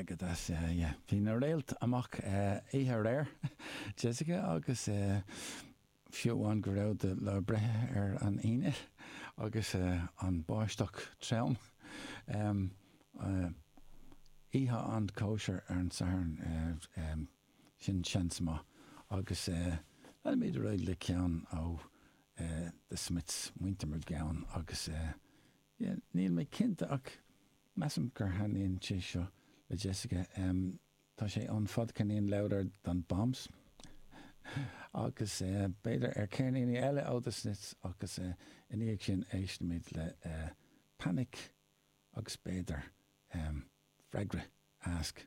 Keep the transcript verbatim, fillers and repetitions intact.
Go deas, yeah. Bhí na réalta amach oíche aréir, Jessica, agus fiú amháin go raibh do lá breithe ar an Aoine agus an báisteach trom. Oíche an cóisir ar an Satharn, sin seans maith agus leanfaimid ar aghaidh le ceann ó The Smiths, Muintir McGowan, agus yeah, níl mé cinnte ach measaim gur thaitníonn sé seo le Jessica. Tá sé an fadcheirnín Louder Than Bombs agus b'fhéidir ar ceirníní eile ó The Smiths agus ina dhiaidh sin éistfimid le Panic agus b'fhéidir freagra Ask.